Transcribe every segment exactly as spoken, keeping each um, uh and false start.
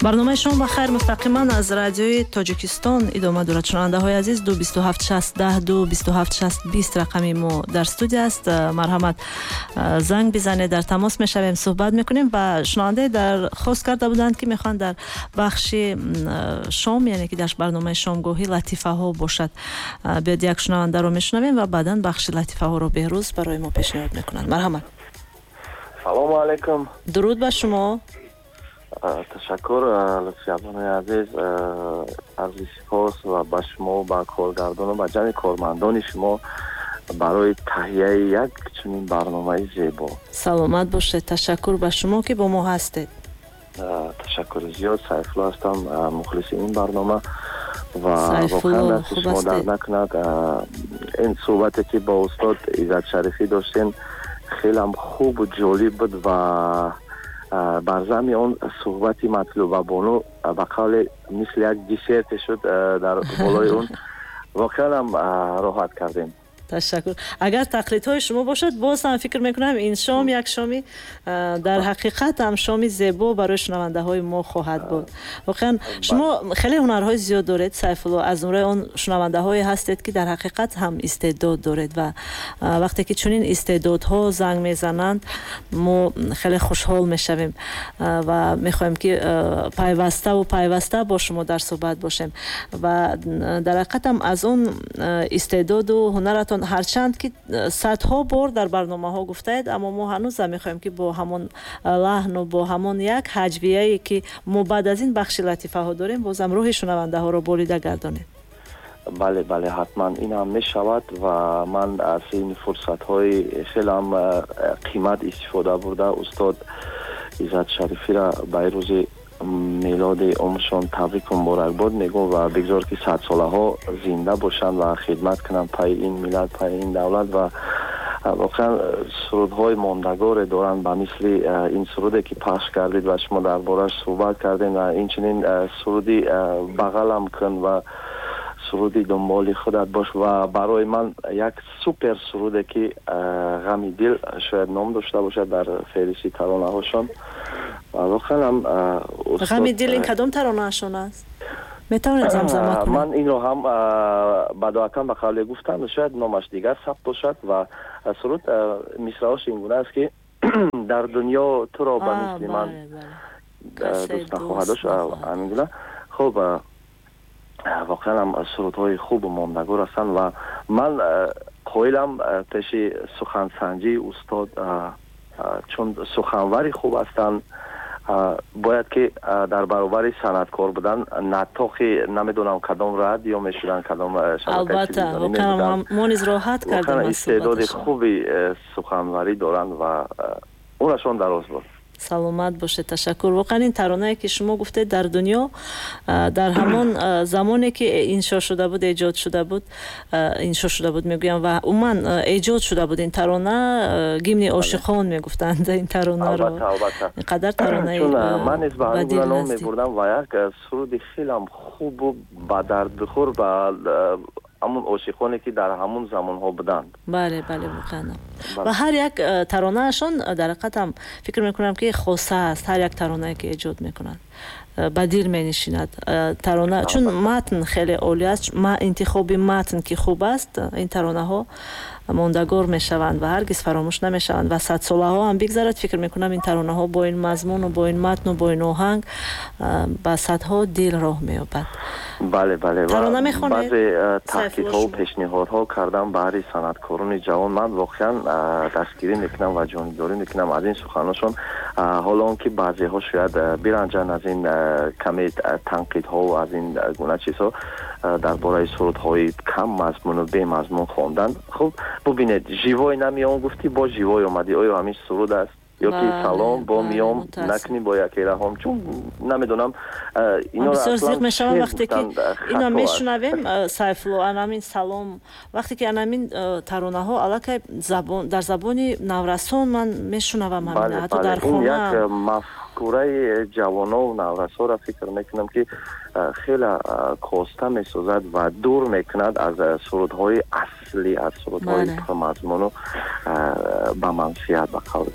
Барномаи «Шом ба хайр» мустақиман аз Радиои Тоҷикистон идома дорад. Шунавандаҳои азиз, ду бисту ҳафт шаст даҳ, ду бисту ҳафт шаст бист рақами мо дар студия аст. Марҳамат, занг бизанед, дар тамос мешавем, суҳбат мекунем. Ва шунавандаe дархост карда буданд, ки мехоҳанд дар бахши шом, яъне ки дар барномаи шомгоҳӣ латифаҳо бошад. Биёд, як шунавандаро мешунавем ва баъдан бахши латифаҳоро Беҳрӯз барои мо пешниҳод мекунанд. Марҳамат. Салому алайкум. Дуруд ба шумо. Ташаккур, Лутфиябонои азиз, арзи сипос ва ба шумо, ба коргардону ба ҷамъи кормандони шумо барои таҳияи як чунин барномаи зебо. Саломат бошед, ташаккур ба шумо, ки бо мо ҳастед. Ташаккури зиёд. Сайфулло ҳастам, мухлиси ин барнома ва воқеан дасти шумо дард накунад. Ин суҳбате, ки бо устод Иззат Шарифӣ доштем, хелам хубу ҷолиб буд ва бар зами он суҳбати Матлуба бону ба қавле мисли як десерте шуд дар болои он. Воқеанам роҳат кардем. Ташаккур. Агар тақлидҳои шумо бошад, боз ҳам фикр мекунам, ин шом як шоми дар ҳақиқат ҳам шоми зебо барои шунавандаҳои мо хоҳад буд. Воқеан, шумо хеле ҳунарҳои зиёд доред, Сайфулло. Аз зумраи он шунавандаҳое ҳастед, ки дар ҳақиқат ҳам истеъдод доред, ва вақте ки чунин истеъдодҳо занг мезананд, мо хеле хушҳол мешавем ва мехоҳем, ки пайваставу пайваста бо шумо дар суҳбат бошем. Ва дар ҳақиқат ҳам аз он истеъдоду ҳунаратон, ҳарчанд ки садҳо бор дар барномаҳо гуфтаед, аммо мо ҳанӯзам мехоҳем, ки бо ҳамон лаҳну бо ҳамон як ҳаҷвияе, ки мо баъд аз ин бахши латифаҳо дорем, бозам рӯҳи шунавандаҳоро болида гардонед. Бале, бале, ҳатман ин ҳам мешавад ва ман аз ин фурсатҳои хеле ҳам қимат истифода бурда, устод Иззат Шарифиро ба ин рӯзи мелоди умршон табрику муборакбод мегӯм ва бигзор, ки садсолаҳо зинда бошанд ва хидмат кунанд пайи ин миллат, пайи ин давлат. Ва воқеан сурудҳои мондагоре доранд, ба мисли ин суруде, ки пахш кардед ва шумо дар бораш суҳбат кардем, ва инчунин суруди «Бағалам кун» ва суруди «Дунболи худат бош» ва барои ман як супер суруде, ки «Ғами дил» шояд ном дошта бошад дар феҳристи таронаҳошон. Воқеан ҳам «Ғами дил» ин кадом таронаашон аст? Метавонед замзама кунед? Ман инро ҳам бадоатан ба қавле гуфтам, шояд номаш дигар сабт бошад. Ва суруд мисраош ин гуна аст, ки дар дунё туро ба мисли ман дӯст нахоҳад дошт, ҳамин гуна. Хуб, воқеан ҳам сурудҳои хубу мондагор ҳастанд ва ман қоилам пеши сухансанҷии устод, чун суханвари хуб ҳастанд. Бояд ки дар баробари санъаткор будан наттоқи намедонам кадом радио мешуданд, кадом Албатта, воқеан мо низ роҳат кардем. Истеъдоди хуби суханварӣ доранд ва умрашон дароз буд. Саломат бошед, ташаккур. Воқеан, ин таронае, ки шумо гуфтед, «Дар дунё», дар ҳамон замоне, ки иншо шуда буд, эҷод шуда буд, иншо шуда буд мегӯям, ва умуман эҷод шуда буд ин тарона, гимни ошиқон мегуфтанд ин таронаро. Қадар таронаи Ман низ ба ҳамин гуна ном мебурдам ва як суруди хелам хубу ба дардбихӯр ба ҳамун ошиқоне, ки дар ҳамун замонҳо буданд. Бале, бале, воқеан. Ва ҳар як э, таронаашон дар ҳақиқат ҳам фикр мекунам, ки хоса аст. Ҳар як таронае, ки эҷод мекунанд, э, ба дил менишинад э, тарона, чун матн хеле олӣ аст. Интихоби матн ки хуб аст, ин таронаҳо мондагор мешаванд ва ҳаргиз фаромӯш намешаванд. Ва садсолаҳо ҳам бигзарад, фикр мекунам, ин таронаҳо бо ин мазмуну бо ин матну бо ин оҳанг ба садҳо дил роҳ меёбад. Бале, бале. Тарона мехонед? Баъзе таҳқиқҳову пешниҳодҳо кардам баҳри санъаткорони ҷавон. Ман воқеан дастгирӣ мекунам ва ҷонибдорӣ мекунам аз ин суханошон. Ҳоло он ки баъзеҳо шояд биранҷанд аз ин каме танқидҳову аз ин гуна чизҳо дар бораи сурудҳои кам мазмуну бемазмун хондан. Хуб, бубинед, «Живой намеом» гуфтӣ, бо «Живой» омадӣ. Оё ҳамин суруд аст? Ё ки «Салом, бо миём накунӣ бо яке раҳом», чун намедонам. Бисёр зиқ мешавам, вақте ки ино мешунавем, Сайфулло, анамин «Салом», вақте ки анамин таронаҳо аллакай дар забони наврасон ман мешунавам, ҳамин ҳатто дар хона. Як мафкураи ҷавонову наврасоро фикр мекунам, ки хеле коста месозад ва дур мекунад аз сурудҳои аслӣ, аз сурудҳои пурмазмуну ба манфиат, ба қавли.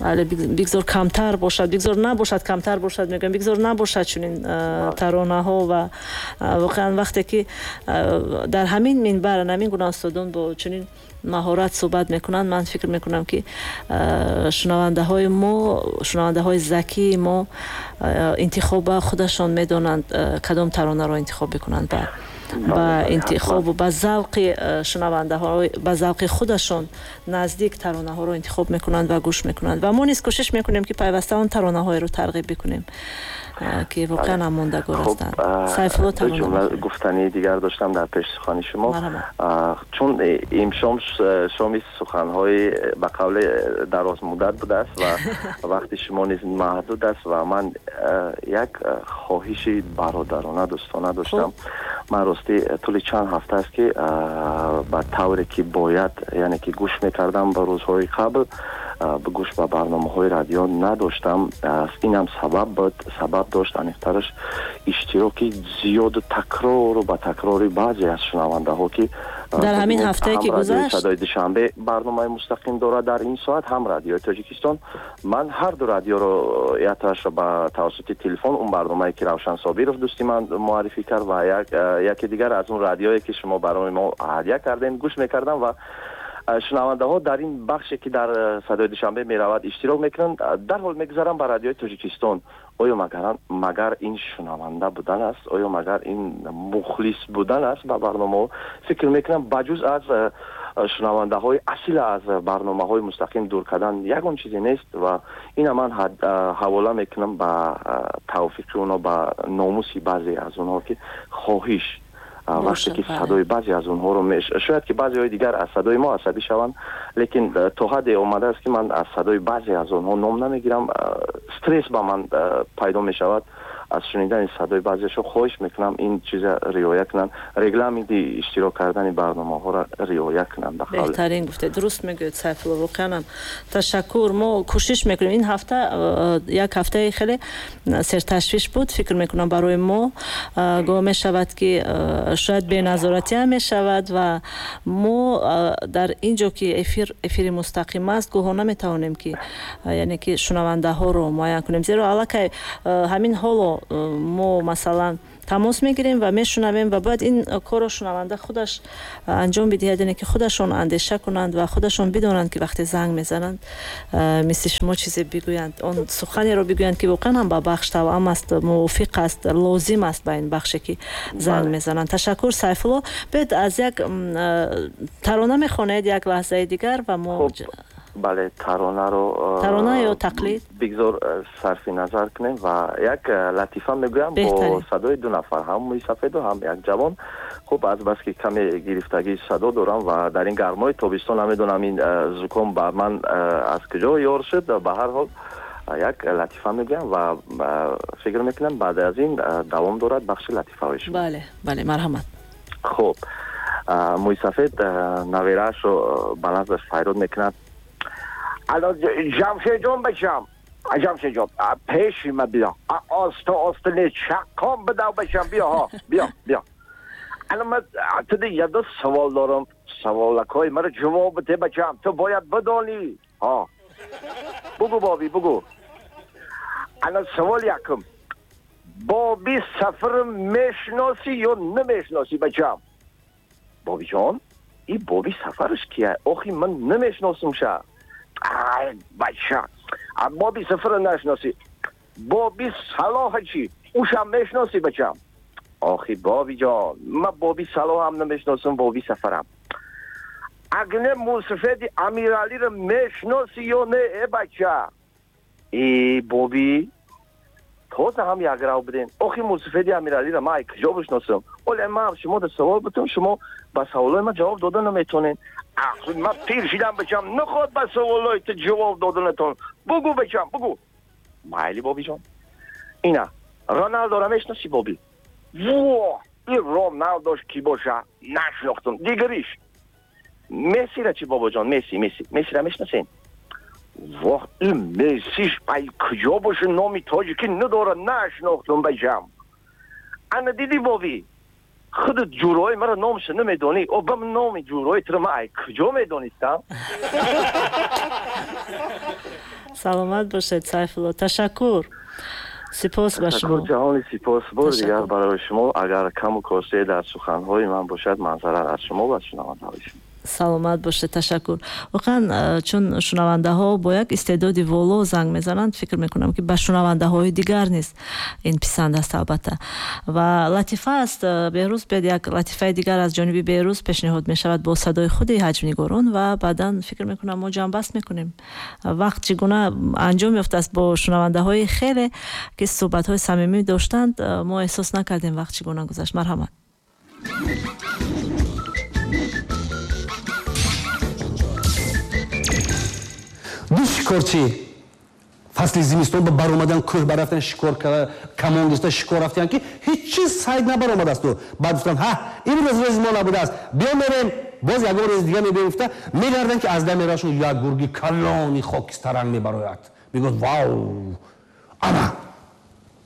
Бале, бигзор камтар бошад, бигзор набошад, камтар бошад, мегӯям, бигзор набошад чунин таронаҳо. Ва воқеан вақте ки дар ҳамин минбар ҳамин гуна устодон бо чунин маҳорат суҳбат мекунанд, ман фикр мекунам ки шунавандаҳои мо, шунавандаҳои закии мо интихоба худашон медонанд кадом таронаро интихоб бикунанд ба ба интихобу ба завқи шунавандаҳо, ба завқи худашон наздик таронаҳоро интихоб мекунанд ва гӯш мекунанд. Ва мо низ кӯшиш мекунем ки пайваста он таронаҳоеро тарғиб бикунем ки воқеан ҳам мондагор ҳастанд. Сайфулло, тарона ҷумла гуфтании дигар доштам дар пеши сухани шумо, чун имшом шоми суханҳои ба қавли дарозмуддат будааст ва вақти шумо низ маҳдуд аст ва ман як хоҳиши бародарона дӯстона доштам. Ман ростӣ тӯли чанд ҳафта аст ки ба тавре ки бояд, яъне ки гӯш мекардам ба рӯзҳои қабл, гӯш ба барномаҳои радио надоштам. Инам сабаб буд, сабаб дошт аниқтараш иштироки зиёду такрору ба такрори баъзе аз шунавандаҳо ки дар ҳамин ҳафтае ки гузашт Садои Душанбе барномаи мустақим дорад дар ин соат, ҳам Радиои Тоҷикистон. Ман ҳар ду радиоро яктоашро ба тавассути телефон, он барномае ки Равшан Собиров дӯсти ман муаррифӣ кард ва яке дигар аз он радиое ки шумо барои мо ҳадя кардем гӯш мекардам ва шунавандаҳо дар ин бахше ки дар Садои Душанбе меравад иштирок мекунанд, дарҳол мегузарам ба Радиои Тоҷикистон. Оё магар ин шунаванда будан аст? Оё магар ин мухлис будан аст ба барномаҳо? Фикр мекунам ба ҷуз аз шунавандаҳои асил аз барномаҳои мустақим дур кардан ягон чизе нест ва ина ман ҳавола мекунам ба тавфиқи онҳо, ба номуси баъзе аз онҳо ки хоҳиш вақте ки садои баъзе аз онҳоро шояд ки баъзеҳои дигар аз садои мо асабӣ шаванд, лекин то ҳадде омадааст ки ман аз садои баъзе аз онҳо ном намегирам, стресс ба ман пайдо мешавад аз шунидани садои баъзеашон. Хоҳиш мекунам ин чиза риоя кунанд, регламенти иштирок кардани барномаҳоро риоя кунанд. Беҳтарин гуфте, дуруст мегӯед Сайфулло, воқеан ташаккур. Мо кӯшиш мекунем. Ин ҳафта як ҳафтаи хеле серташвиш буд, фикр мекунам барои мо. Гоҳ мешавад ки шояд беназоратӣ ҳам мешавад ва мо дар ин ҷо ки эфир эфири мустақим аст, гоҳо наметавонем ки яъне ки шунавандаҳоро муайян кунем, зеро аллакай ҳамин ҳоло мо масалан тамос мегирем ва мешунавем ва бояд ин корро шунаванда худаш анҷом бидиҳад, яъне ки худашон андеша кунанд ва худашон бидонанд ки вақте занг мезананд мисли шумо чизе бигӯянд, он суханеро бигӯянд ки воқеан ҳам ба бахш тавъам аст, мувофиқ аст, лозим аст ба ин бахше ки занг мезананд. Ташаккур Сайфулло. Биёед аз як тарона мехонед як лаҳзаи дигар ва мо бале, таронаро тарона ё тақлид бигзор сарфи назар кунем ва як латифа мегӯям бо садои ду нафар, ҳам мӯйсафеду ҳам як ҷавон. Хуб, аз бас ки каме гирифтагии садо дорам ва дар ин гармои тобистон намедонам ин зуком ба ман аз куҷо ёр шуд, ба ҳар ҳол як латифа мегӯям ва фикр мекунам баъд аз ин давом дорад бахши латифаҳои шумо. Бале, бале, марҳамат. Хуб, мӯйсафед навераашро ба наздаш файрод мекунад. الان جمشید جان بشم، جمشید جان پیش من بیا، آستا آستا نه چکام بدم بشم، بیا ها بیا بیا. الان من تو دیگه دو سوال دارم، سوالکای مرا جواب بده بچم، تو باید بدانی ها. بگو بابی بگو. الان سوال یکم، بابی سفر میشناسی یا نمیشناسی بچم؟ بابی جان این بابی سفرش کیه؟ آخی من نمیشناسم شه. ای بچه بابی سفر نشناسی، بابی صلاح چی؟ اوشم میشناسی بچم؟ آخی بابی جان من بابی صلاح هم نمیشناسم، بابی سفرم. اگه موسفید امیرعلی رو میشناسی یا نه ای بچه؟ ای بابی تازه هم یک رو بدین. آخی موسفید امیرعلی رو من کجا بشناسم؟ ولی من شما در سوال بتون، شما به سوالای من جواب داده نمیتونین. آخه من پیر شدم بچم، نخواد به سوالای تو جواب دادنتون. بگو بچم بگو. مایلی بابی جان اینا رونالدو رو میشناسی بابی؟ واه این رونالدوش کی باشه نشناختم. دیگریش مسی را چی بابا جان؟ مسی مسی مسی را میشناسین؟ واه این مسیش ای کجا باشه، نامی تاجیکی نداره، نشناختم بچم. انا دیدی بابی خودت جورای مرا نامش نمیدونی، او به نام جورای تو من ای کجا میدونستم؟ Саломат бошед, Сайфулло. Ташаккур. Сипос ба шумо. Ташаккур ҷаҳони сипос. Бор дигар барои шумо. Агар каму косте дар суханҳои ман бошад, манзарат аз шумо ва шунавандаҳои шумо. Саломат бошед, ташаккур. Воқеан чун шунавандаҳо бо як истеъдоди воло занг мезананд, фикр мекунам ки ба шунавандаҳои дигар низ ин писанд аст албатта. Ва латифа аст. Беҳрӯз, биёд як латифаи дигар аз ҷониби Беҳрӯз пешниҳод мешавад бо садои худи ҳаҷвнигорон ва баъдан фикр мекунам мо ҷамъбаст мекунем. Вақт чӣ гуна анҷом ёфтааст бо шунавандаҳои хеле ки суҳбатҳои самимӣ доштанд, мо эҳсос накардем вақт чӣ гуна гузашт. Марҳамат. Ду шикорчӣ фасли зимистон ба баромадан кӯҳ барафтан, шикор камон гирифта шикор рафтан ки ҳеҷ чиз сайд набаромадасту. Баъд гуфтанд ҳа имрӯз рӯзи мо набудааст, биё мерем боз ягон рӯзи дига мебием. Гуфта мегарданд ки аз дами рашон як гурги калони хокистаранг мебарояд. Мегӯяд вау, ана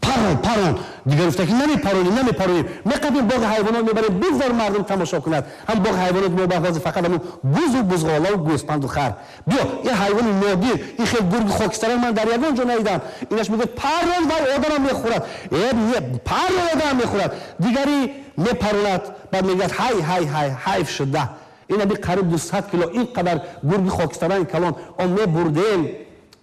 парон парон. Дигар гуфта ки намепаронем, намепаронем, меқабем боғи ҳайвонот мебарем, бигзор мардум тамошо кунад. Ҳам боғи ҳайвонот мо баҳози фақат ҳамун бузу бузғолаву гӯспанду хар. Биё ин ҳайвони нодир, ин хел гурги хокистаранг ман дар ягон ҷо надидам. Инаш мегӯяд парон, вай одамам мехӯрад. Э парон, одамам мехӯрад. Дигари мепаронад, баъд мегӯяд ҳай ҳай ҳай, ҳайф шуда, ин аби қариб дусад кило ин қадар гурги хокистаранг калон он мебурдем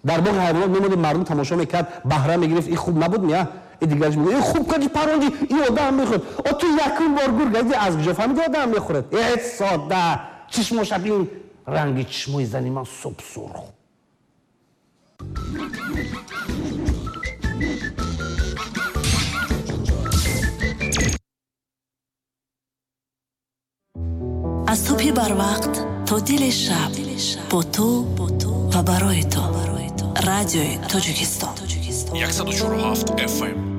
дар боғи ҳайвонот мемонем, мардум тамошо мекард, баҳра мегирифт. Ин хуб набуд мия? И дигараш мегӯяд ин хуб кардӣ парондӣ, ин одам мехӯрад. О ту якум бор гург газидӣ, аз куҷо фаҳмидӣ одам мехӯрад? Э сода, чишмоша бин, ранги чишмои зани ман суб сурх. Аз субҳи барвақт то дили шаб бо ту ва барои ту. Радиои Тоҷикистон. яксаду чору ҳафт эф эм.